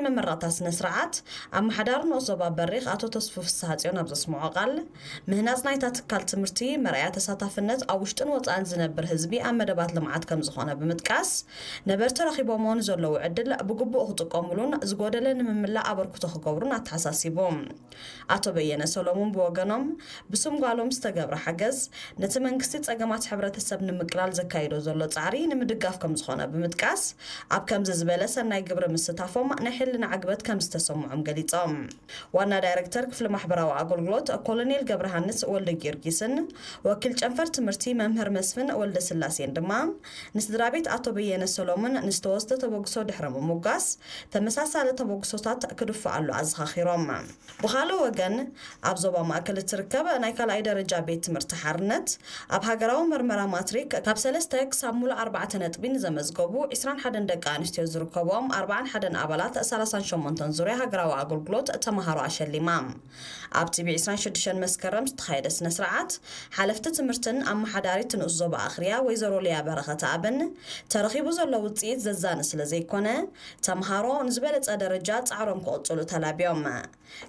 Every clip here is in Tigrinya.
መመረቕታ ስነ ስርዓት ኣመሓዳሪ ንኡስ ዞባ በሪኽ ኣቶ ተስፉ ፍስሃጽዮን ኣብ ዘስምዖ ቃል፣ ምህናጽ ናይታ ትካል ትምህርቲ መርኣያ ተሳታፍነት ኣብ ውሽጥን ወጻእን ዝነብር ህዝቢ ኣብ መደባት ልምዓት ከም ዝኾነ ብምጥቃስ፣ ነበርቲ ረኺቦምዎ ንዘለዉ ዕድል ብግቡእ ክጥቀሙሉን ዝጎደለ ንምምላእ ኣበርክቶ ክገብሩን ኣተሓሳሲቡ። ኣቶ በየነ ሰሎሙን ብወገኖም፣ ብስም ጓሎም ዝተገብረ ሓገዝ፣ ነቲ መንግስቲ ጸገማት ሕብረተሰብ ንምቅላል ዘካይዶ ዘሎ ጻዕሪ ንምድጋፍ ከም ዝኾነ ብምጥቃስ፣ ኣብ ከምዚ ዝበለ ሰናይ ግብሪ ምስታፎም ናይ ሕልና ዕግበት ከም ዝተሰምዖም ገሊጾም። ዋና ዳይረክተር ክፍሊ ማሕበራዊ ኣገልግሎት ኮሎኔል ገብረሃንስ ወልደ ጊዮርጊስን ወኪል ጨንፈር ትምህርቲ መምህር መስፍን ወልደ ስላሴን ድማ ንስድራ ቤት ኣቶ በየነ ሰሎሙን ንዝተወስደ ተበግሶ ድሕሪ ምሙጋስ፣ ተመሳሳሊ ተበግሶታት ክድፍኣሉ ኣዘኻኺሮም። ብኻልእ ወገን፣ ኣብ ዞባ ማእከል እትርከብ ናይ ካልኣይ ደረጃ ቤት ትምህርቲ ሓርነት፣ ኣብ ሃገራዊ መርመራ ማትሪክ ካብ ሰለስተ ክሳብ ሙሉእ ኣርባዕተ ነጥቢ ንዘመዝገቡ ዕስራን ሓደን ደቂ ኣንስትዮ ዝርከብኦም ኣርባዓን ሓደን ኣባላት ሰላሳን ሸሞንተን ዙርያ ሃገራዊ ኣገልግሎት ተመሃሮ ኣሸሊማ። ኣብቲ ብ ዕስራን ሽዱሽተን መስከረም ዝተኻየደ ስነ ስርዓት፣ ሓለፍቲ ትምህርትን ኣመሓዳሪት ንኡስ ዞባ ኣኽርያ ወይዘሮ ሊያ በረኸት ኣብን፣ ተረኺቡ ዘሎ ውፅኢት ዘዛኒ ስለ ዘይኮነ፣ ተምሃሮ ንዝበለፀ ደረጃ ፃዕሮም ክቕፅሉ ተላብዮም።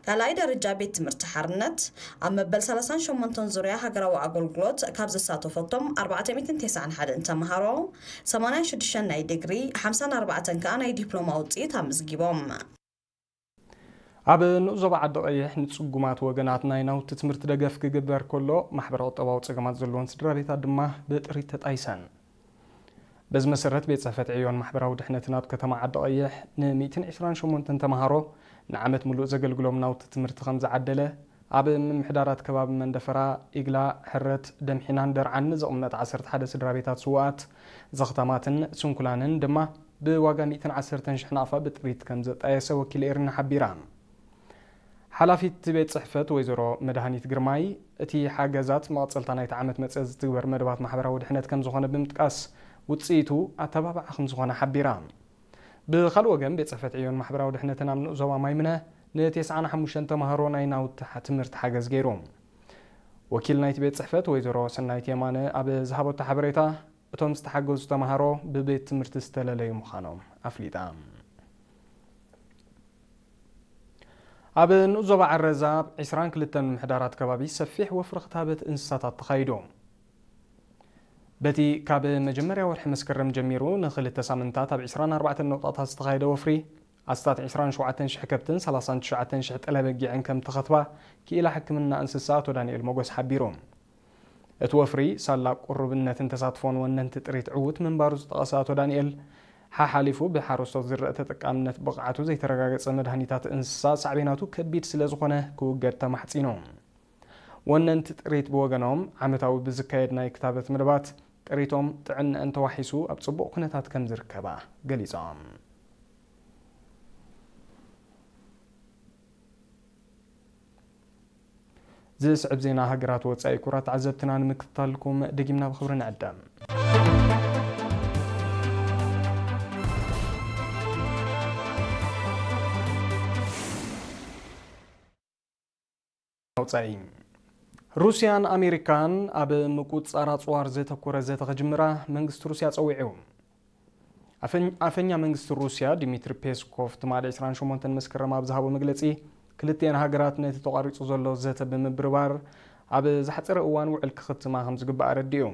ካልኣይ ደረጃ ቤት ትምህርቲ ሓርነት ኣብ መበል ሰላሳን ሸሞንተን ዙርያ ሃገራዊ ኣገልግሎት ካብ ዘሳተፈቶም ኣርባዕተ ሚእትን ተስዓን ሓደን ተምሃሮ፣ ሰማንያን ሽዱሽተን ናይ ዲግሪ፣ ሓምሳን ኣርባዕተን ከኣ ናይ ዲፕሎማ ውፅኢት ኣመዝጊቦም። ኣብ ንኡስ ዞባ ዓዲ ቀይሕ ንጽጉማት ወገናት ናይ ናውቲ ትምህርቲ ደገፍ ክግበር ከሎ፣ ማሕበረ ቁጠባዊ ጸገማት ዘለወን ስድራ ቤታት ድማ ብጥሪት ተጣይሰን። በዚ መሰረት፣ ቤት ጽሕፈት ዕዮን ማሕበራዊ ድሕነትን ኣብ ከተማ ዓዲ ቀይሕ ን ሚእትን ዕስራን ሸሞንተን ተምሃሮ ንዓመት ምሉእ ዘገልግሎም ናውቲ ትምህርቲ ከም ዝዓደለ፣ ኣብ ምምሕዳራት ከባቢ መንደፈራ፣ ኢግላ፣ ሕረት፣ ደምሒናን ደርዓን ንዝቕመጥ ዓሰርተ ሓደ ስድራ ቤታት ስዉኣት፣ ዘኽታማትን ስንኩላንን ድማ ብዋጋ ሚእትን ዓሰርተን ሽሕ ናቕፋ ብጥሪት ከም ዘጣየሰ ወኪል ኤሪና ሓቢራ። ሓላፊት ቤት ጽሕፈት ወይዘሮ መድሃኒት ግርማይ፣ እቲ ሓገዛት መቐጸልታ ናይቲ ዓመት መጸ ዝትግበር መደባት ማሕበራዊ ድሕነት ከም ዝኾነ ብምጥቃስ፣ ውጽኢቱ ኣተባባዒ ከም ዝኾነ ሓቢራ። ብኻልእ ወገን፣ ቤት ጽሕፈት ዕዮን ማሕበራዊ ድሕነትን ኣብ ንኡስ ዞባ ማይምነ ንተስዓን ሓሙሽተን ተምሃሮ ናይ ናውቲ ሓ-፣ ትምህርቲ ሓገዝ ገይሩ። ወኪል ናይቲ ቤት ጽሕፈት ወይዘሮ ሰናይት የማነ ኣብ ዝሃበቶ ሓበሬታ፣ እቶም ዝተሓገዙ ተምሃሮ ብቤት ትምህርቲ ዝተለለዩ ምዃኖም ኣፍሊጣ። ኣብ ንኡስ ዞባ ዓረዛ ኣብ ዕስራን ክልተን ምምሕዳራት ከባቢ ሰፊሕ ወፍሪ ክታበት እንስሳታት ተኻይዱ። በቲ ካብ መጀመርያ ወርሒ መስከረም ጀሚሩ ንኽልተ ሳምንታት ኣብ ዕስራን ኣርባዕተን ነቑጣታት ዝተኻየደ ወፍሪ፣ ኣስታት ዕስራን ሸውዓተን ሽሕ ከብትን ሰላሳን ትሽዓተን ሽሕ ጠለ በጊዕን ከም ተኸትባ ክኢላ ሕክምና እንስሳ ኣቶ ዳንኤል ሞጎስ ሓቢሩ። እቲ ወፍሪ፣ ሳላ ቁሩብነትን ተሳትፎን ወነንቲ ጥሪት ዕዉት ምንባሩ ዝጠቐሰ ኣቶ ዳንኤል፣ ሓሓሊፉ ብሓረስቶት ዝረአ ተጠቃምነት ብቕዓቱ ዘይተረጋገጸ መድሃኒታት እንስሳ ሳዕቤናቱ ከቢድ ስለ ዝኾነ ክውገድ ተማሕጺኑ። ወነንቲ ጥሪት ብወገኖም፣ ዓመታዊ ብዝካየድ ናይ ክታበት መደባት፣ ጥሪቶም ጥዕንአን ተዋሒሱ ኣብ ጽቡቕ ኩነታት ከም ዝርከባ ገሊጾም። ዝስዕብ ዜና ሃገራት ወጻኢ፣ ክቡራት ተዓዘብትና፣ ንምክትታልኩም ደጊምና ብኽብሪ ንዕደም። ወጻኢ። ሩስያን ኣሜሪካን ኣብ ምቁጽጻር ኣጽዋር ዘተኮረ ዘተ ክጅምራ መንግስቲ ሩስያ ጸዊዑ። ኣፈኝ-፣ ኣፈኛ መንግስቲ ሩስያ ዲሚትሪ ፔስኮቭ ትማሊ ዕስራን ሸሞንተን መስከረም ኣብ ዝሃቦ መግለጺ፣ ክልቲኤን ሃገራት ነቲ ተቋሪጹ ዘሎ ዘተ ብምብርባር ኣብ ዝሓጸረ እዋን ውዕል ክኽትማ ከም ዝግባእ ኣረዲኡ።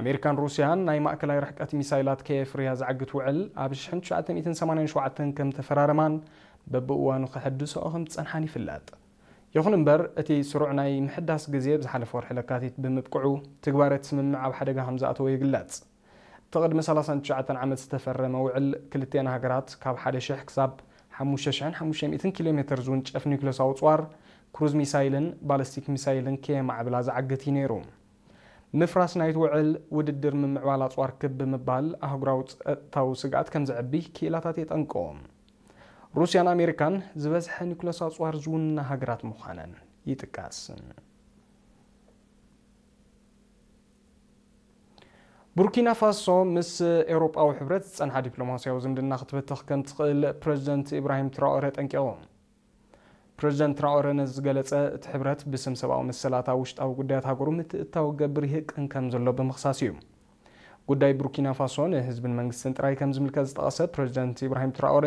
ኣሜሪካን ሩስያን ናይ ማእከላይ ርሕቀት ሚሳይላት ከየፍርያ ዝዓግት ውዕል ኣብ ሽሕን ትሽዓተ ሚእትን ሰማንያን ሸውዓተን ከም ተፈራረማን በብእዋኑ ክሕድስኦ ከም ዝጸንሓን ይፍለጥ። ይኹን እምበር፣ እቲ ስሩዕ ናይ ምሕዳስ ግዜ ብዝሓለፈ ወርሒ ለካቲት ብምብቅዑ፣ ትግባረ እቲ ስምምዕ ኣብ ሓደጋ ከም ዝኣተወ ይግለጽ። እቲ ቅድሚ ሰላሳን ትሽዓተን ዓመት ዝተፈረመ ውዕል፣ ክልቲኤን ሃገራት ካብ ሓደ ሽሕ ክሳብ ሓሙሽተ ሽሕን ሓሙሽተ ሚእትን ኪሎ ሜተር ዝውንጨፍ ኒውክለሳዊ ኣጽዋር፣ ክሩዝ ሚሳይልን ባለስቲክ ሚሳይልን ከየማዕብላ ዝዓግት እዩ ነይሩ። ምፍራስ ናይቲ ውዕል፣ ውድድር ምምዕባል ኣጽዋር ክብ ብምባል ኣህጉራዊ ጸጥታዊ ስግኣት ከም ዘዕቢ ክኢላታት የጠንቅቑ። ሩስያን ኣሜሪካን ዝበዝሐ ኒውክለሳዊ ኣጽዋር ዝውንና ሃገራት ምዃነን ይጥቀስ። ቡርኪና ፋሶ ምስ ኤውሮጳዊ ሕብረት ዝጸንሓ ዲፕሎማስያዊ ዝምድና ክትበትኽ ከም ትኽእል ፕረዚደንት ኢብራሂም ትራኦረ ኣጠንቂቑ። ፕረዚደንት ትራኦረ ነዚ ዝገለጸ፣ እቲ ሕብረት ብስም ሰብኣዊ መሰላት ኣብ ውሽጣዊ ጉዳያት ሃገሩ ምትእትታው ክገብር ይህቅን ከም ዘሎ ብምኽሳስ እዩ። ጉዳይ ቡርኪና ፋሶ ንህዝብን መንግስትን ጥራይ ከም ዝምልከት ዝጠቐሰ ፕረዚደንት ኢብራሂም ትራኦረ፣